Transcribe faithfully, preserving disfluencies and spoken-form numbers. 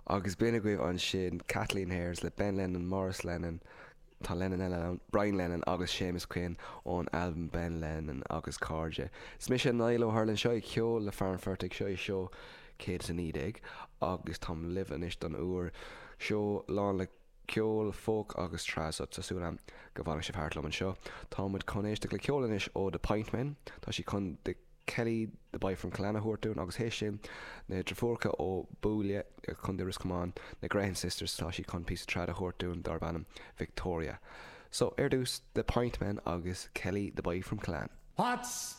Agus b'in agaibh ansin Kathleen Ayers le Ben Lennon, Maurice Lennon, tá Lennon eile ann, Brian Lennon agus Séamus Quinn ón albam Ben Lennon agus Cairde. Is mise Niall Ó hUrlain seo ceol le fear an phortaigh seo é seó céad is a naoi déag agus táim libh anois don uair seo lán le ceol folk agus trad so tá súil agam go bhfanfaidh sibh thart liom anseo. Tá muid chun éisteacht le ceol anois ó The Pint Men, tá siad chun the Kelly the Boy from Clanna thuirún agus théis sin na deirfiúracha ó Bhuaile Contae Ros Comáin na Grehan Sisters tá siad chun píosa trad a thabhairt dúinn darb ainm Victoria. So ar dtús The Pint Men agus Kelly the Boy from Clan. What's